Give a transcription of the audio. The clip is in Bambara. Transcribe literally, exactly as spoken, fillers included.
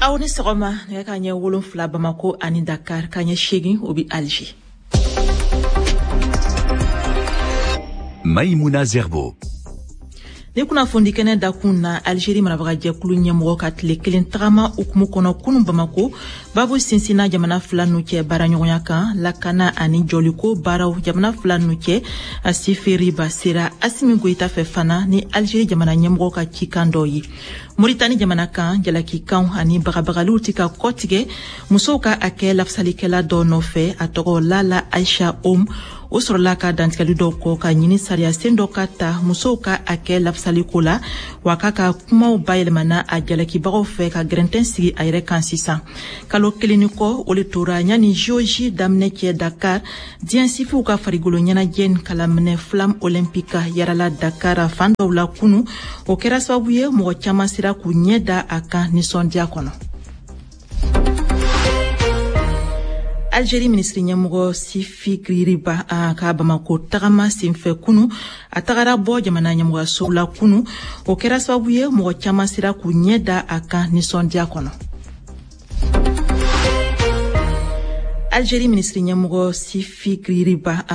Aw ni sɔgɔma. Nɛgɛ ka ɲɛ wolonfila Bamako ani Dakar, ka ɲɛ seegin o bi Alger. Maïmouna Zerbo. Ni kunnafoni kɛnɛ dakun na, Algérie marabagajɛkulu ɲɛmɔgɔ ka tile kelen tagama hukumu kɔnɔ kunu Bamako, babu sinsinna jamana fila nu cɛ baaraɲɔgɔnya kan, lakana ani jɔliko baaraw jamana fila nu cɛ. Sifi Riba sera Asimi Goyita fɛ fana ni Algérie jamana ɲɛmɔgɔ ka cikan dɔ ye. Moritani jamana kan, jalakikanw ani bagabagaliw ti ka kɔtigɛ musow ka hakɛ lafasalikɛla dɔ nɔfɛ, a tɔgɔ Lala Aisha Om. O sɔrɔla ka dantigɛli dɔw kɔ ka ɲini sariya sen dɔ ka ta musow ka hakɛ lafasaliko la, wa k'a ka kumaw bayɛlɛmana a jalakibagaw fɛ ka gɛrɛntɛn sigi a yɛrɛ kan sisan. Kalo kelen ni kɔ o le tora yanni J O J daminɛ cɛ Dakar, diɲɛ sifiw ka farigolo ɲɛnajɛ kalaminɛ flamme olympique yarala Dakar fan dɔw la kunu. O kɛra sababu ye mɔgɔ caman sera k'u ɲɛ da a kan nisɔndiya kɔnɔ. Algérie minisiri ɲɛmɔgɔ Sifi Riba a ka Bamako tagama senfɛ kunu, a tagara bɔ jamana ɲɛmɔgɔyaso la kunu. O kɛra sababu ye mɔgɔ caman sera k'u ɲɛ da a kan nisɔndiya kɔnɔ. Algérie minisiri ɲɛmɔgɔ Sifi Riba.